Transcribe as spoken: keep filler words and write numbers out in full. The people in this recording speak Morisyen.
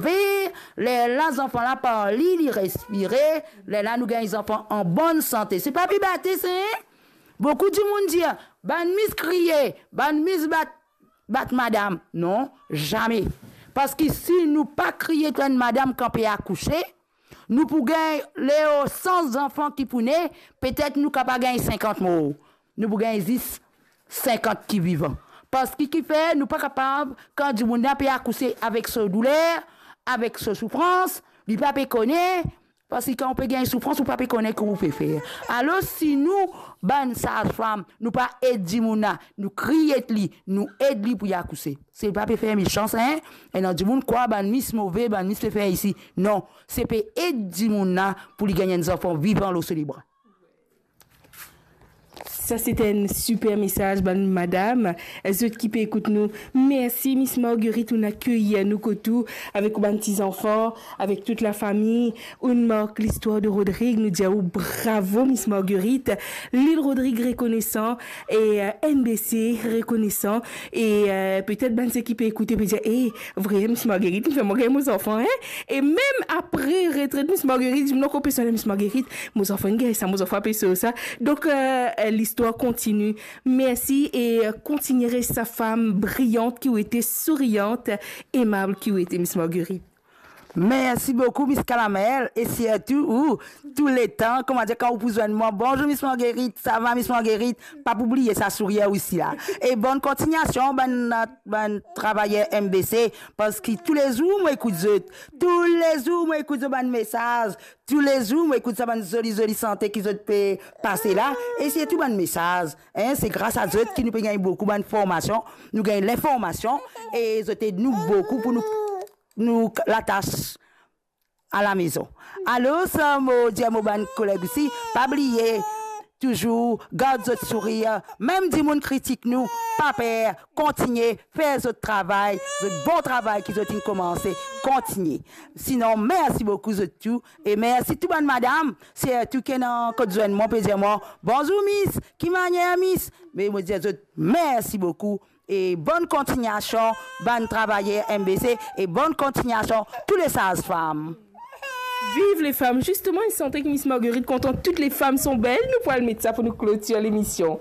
leve, lerla zanfan la parli, li respire, lerla nou gagn zanfan an bonn sante. Se pa pibatiz, hein? Boukou dimoun dir, bann mis kriye, bann mis bat, bat madam. Non, zame. Parski si nou pa kriye kot enn madam kan pe akouse, nou pou gagn leo san zanfan ki pou ne, petet nou kapav gagn sinkant mor. Nou pou gagn zis sinkant ki vivan. Parski kifer nou pa kapav, kan dimoun la pe akouse avek so douler, avek so soufrans, li pa pe kone, parski kan ou pe gagn soufrans, ou pa pe kone ki ou pe fer. Alor, si nou, bann sazfam, nou pa ed dimoun la, nou kriye li, nou ed li pou li akouse. Se pa pe fer mesans, hein? Ena dimoun krwar bann mis move, bann mis pe fer isi. Non, se pe ed dimoun la pou li gagn enn zanfan vivan lor so lebra. Sa se enn siper mesaz, bann madam, zot ki pe ekout nou. Mersi, Miss Marguerite, ou'nn akey nou kot ou avek ou bann ti zanfan, avek tout lafami. Ou'nn mark listwar de Rodrig, nou dir aou bravo, Miss Marguerite. Lil Rodrig rekonesan e, euh, N B C rekonesan. E, euh, petet bann seki pe ekoute pe dir, "Eh, vre, Miss Marguerite, inn fer mwa gagn mo zanfan, hein?" E mem apre retret Miss Marguerite, dimoun ankor pe sonn Miss Marguerite, "Mo zanfan inn gagn sa, mo zanfan pe sov sa." Donk, euh, euh, listwar kontini. Mersi e, euh, kontinie res sa fam briyant ki ou ete, souriant, emab ki ou ete, Miss Marguerite. Mersi boukou, Miss Kalamel, e sirtou ou, touletan, kouma dir, kan ou pou zwenn mwa, "Bonzour, Miss Marguerite, sava, Miss Marguerite?" Pa pou bliye sa sourir isi la. E bonn kontignasion, bann, bann travayer M B C, parski toulezour mo ekout zot, toulezour mo ekout zot bann mesaz, toulezour mo ekout sa bann zoli, zoli sante ki zot pe pase la, e sirtou bann mesaz, hein, se gras a zot ki nou pe gagn boukou bann formasion, nou gagn linformasion, e zot ed nou boukou pou nou nou latas alamezon. Alor, sa mo dir mo bann koleg osi, pa bliye, touzour gard zot sourir, mem dimoun kritik nou, pa per, kontinie fer zot travay, zot bon travay ki zot inn koumanse, kontinie. Sinon, mersi boukou zot tou, e mersi tou bann madam, sirtou ki ena kot zwenn mwa, pe dir mwa, "Bonzour, Miss, ki manier, Miss?" Me mo dir zot, mersi boukou, e bonn kontignasion, bann travayer M B C, e bonn kontignasion, tou le sazfam. Viv lefam! Zisteman, enn sante ki Miss Marguerite kontan, "Toutes les femmes sont belles", nou pou al met sa pou nou klotir lemision.